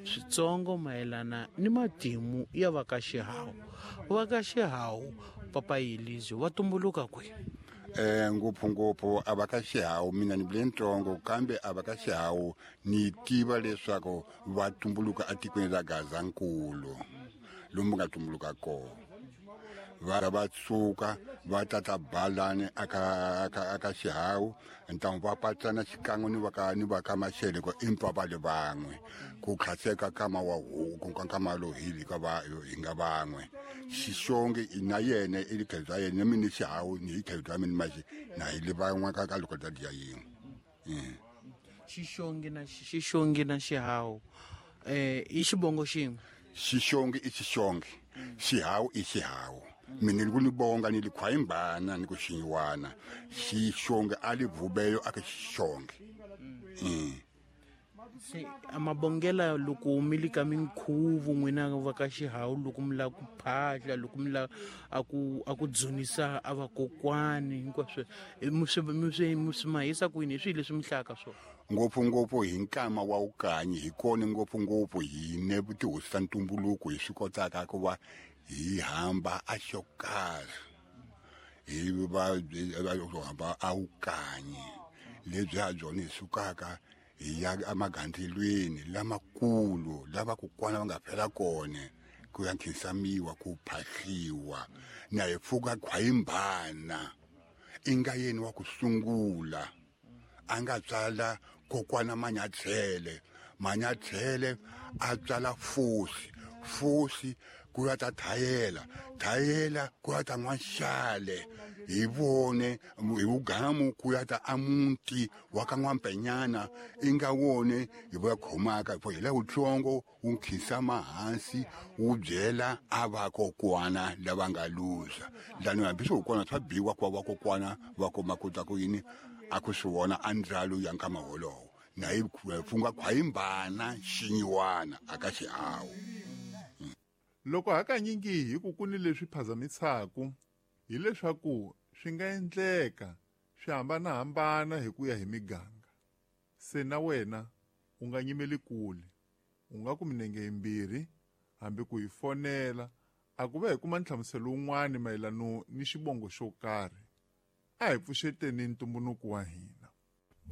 Switsongo mayelana ni matimu ya va ka Xihawu. Va ka Xihawu, Papa Yelizwe, va tumbuluka kwihi? Ngopfungopfu a va ka Xihawu, mina ni vule ntsongo, kambe a va ka Xihawu ni tiva leswaku va tumbuluka etikweni ra Gazankulu, lomu nga tumbuluka kona. Va va suka va tata balani aka aka aka Xihawu, ntamu va patsana xikan'we ni va ka ni va ka Mashele, ko empa va le van'we ku khaseka kama wa huku ka kama lo hili ka va hi nga van'we. Xixongi na yena i le tlhelo bya yena, na mina Xihawu ni hi tlhelo bya mina maxi na hi le van'we ka ka loko dya yin'we. Xixongi na Xihawu i xivongo xin'we? Xixongi i Xixongi, Xihawu i Xihawu. Mina ni ku ni bonga ni li khwayimbana ni ku xinyiwana Xixongi a li vubeyo aka Xixongi. Se a mabongela loko mi li ka minkhuvo, n'wina va ka Xihawu, loko mi lava ku phahla, loko mi lava a ku dzunisa a vakokwani, hinkwaswo mi swi mahisa kwini? Hi swihi leswi mi hlayaka swona? Ngopfungopfu hi nkama wa wukanyi hi kona ngopfungopfu hine tihosi ta ntumbuluko hi swi kotaka ku va hi hamba a xo karhi, hi va hamba a wukanyi lebyi ha byona hi sukaka hi ya emagandzelweni lamakulu lava kokwana va nga fela kona, ku ya nkhinsamiwa, ku phahliwa, na hi pfuka khwayimbana i nga yeni wa ku sungula a nga tswala kokwana Manyathele. Manyathele a tswala Fosi, Fosi ku ya ta Thayela, Thayela ku ya ta N'waxale, hi vone hi vugamu ku ya ta amuti wa ka N'wampenyana, i nga wone hi va khomaka hi la wutsongo wu nkhinsama hansi wu byela a vakokwana lava nga luza lani, hambi swi kona swa biwa ku va vakokwana va kuma kota ku yini a ku swi vona a ndzalo ya nkama wolowo na hi funga khwayimbana xinyiwana aka Xihawu. Loko hakanyingi hi ku ku ni leswi phazamisaka, hileswaku swi nga endleka swi hambanahambana hi ku ya hi miganga. Se na wena u nga nyimeli kule, u nga ku minenge yimbirhi hambi ku hi fonela a ku va hi kuma nhlamuselo wun'wani mayelano ni xivongo xo karhi. A hi pfuxeteni ntumbuluko wa hina.